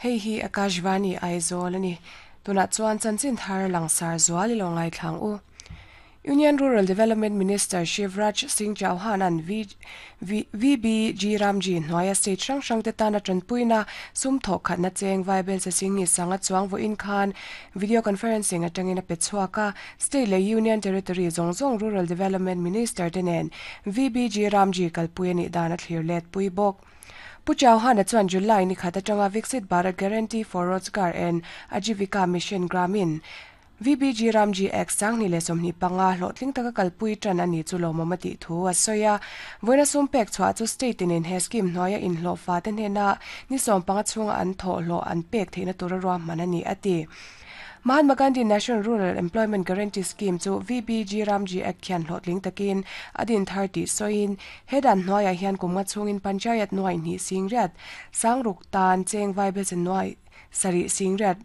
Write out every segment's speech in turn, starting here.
Hei hi Akashvani Aizawl a ni. Tunah chuan chanchin thar langsar zual i lo ngaithlang u. Union Rural Development Minister Shivraj Singh Chauhan an VBG Ramji hnuaia state hrang hrang te tana tanpuina sum thawh khatna cheng Vaibel che Singh ni sanga chuang vawiin khan video conferencing atangin a pe chhuak a. State leh Union Territory zawng zawng Rural Development Minister te nen VBG Ramji kalpui a nih dan a thlir let pui bawk. Pu Chauhan-a chuan July ni khat atanga Viksit Bharat Guarantee for Rozgar and Ajeevika Mission Gramin, VBG Ramji Act 2025 hlawhtling taka kalpui tan a ni chu lawmawm a tih thu a sawi a. Vawiina sum pek chhuah chu state in he scheme hnuaia inhlawhfa te hnena ni 15 chhunga an thawhhlawh an pek theihna tura ruahman a ni a ti. Mahatma Gandhi National Rural Employment Guarantee Scheme chu VBG Ramji Act hian hlawhtling takin a din thar tih sawiin he dan hnuaiah hian kum nga chhungin Panchayat nuai hnih sing riat, sangruk tan cheng vaibelche nuai sarih sing riat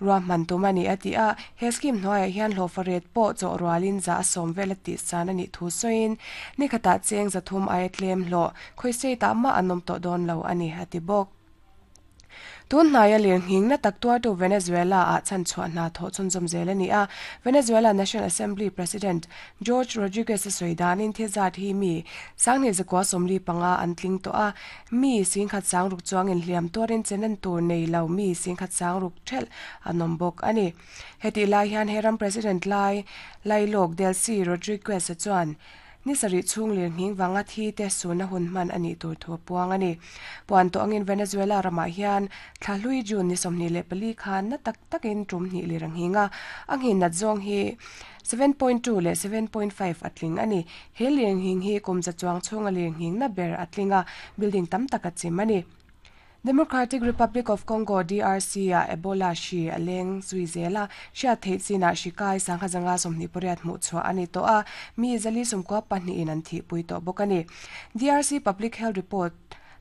ruahman tum a ni a ti a. He scheme hnuaiah hian hlawhfa ret pawh chawh rualin za a sawm vel a tih san a nih thu sawiin nikhatah cheng 300 aia tlem hlawh khawi state ah mah an awm tawh dawn lo a ni a ti bawk. Tun hnaia lirnghing na tak tuartu Venezuela-ah chhanchhuah hna thawh chhunzawm zel a ni a. Venezuela National Assembly President Jorge Rodriguez-a sawi danin thil zat hi mi sanghnih zakua 45 an tling tawh a, mi singkhat sangruk chuangin hliam tuarin chenan tur nei lo mi singkhat sangruk thelh an awm bawk a ni. Hetih lai hian he ram President lai lailawk Delcy Rodriguez-a chuan Ni sarih chhung lirnghing vanga thi te sunna hun hman a nih tur thu a puang a ni. Puan tawh angin Venezuela ramah hian thla hlui June ni 24 khan na tak takin tum hnih lir a nghing a, a nghin nat zawng hi 7.2 leh 7.5 a tling a ni. He lirnghing hi kum za chuang chhunga lirnghing na ber a tling a, building tam tak a chim a ni. Democratic Republic of Congo, DRC, ah Ebola hri a leng zui zel a, hriat theih chinah hri kai sangha zanga 28 hmuh chhuah a ni tawh a, mi zali sawmkua pahnihin an thihpui tawh bawk a ni. DRC Public Health Report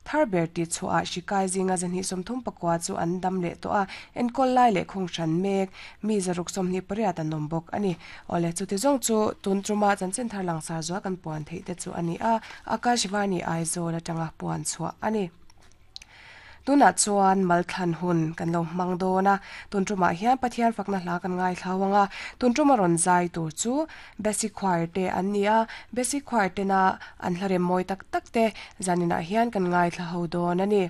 thar ber tih chhuahah hri kai zinga 234 chu an dam leh tawh a, enkawl lai leh khung hran mek mi 628 an awm bawk a ni. Awle, chuti zawng chu tun tuma chanchin thar langsar zual kan puan theih te chu a ni a, Akashvani Aizawl atanga puan chhuah a ni. Tunah chuan malthlan hun kan lo hmang dawn a, tun tumah hian Pathian fakna hla kan ngaithlau ang a, tun tuma rawn zai tur chu Basic Choir te an ni a, Basic Choir tena an hla rem mawi tak tak te zaninah hian kan ngaithla ho dawn a ni.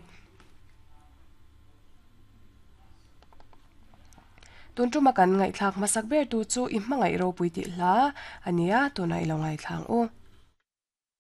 Tun tuma kan ngaihthlak hmasak ber tu chu i hmangaih ropui tih hla a ni a, tunah i lo ngaithla ang u.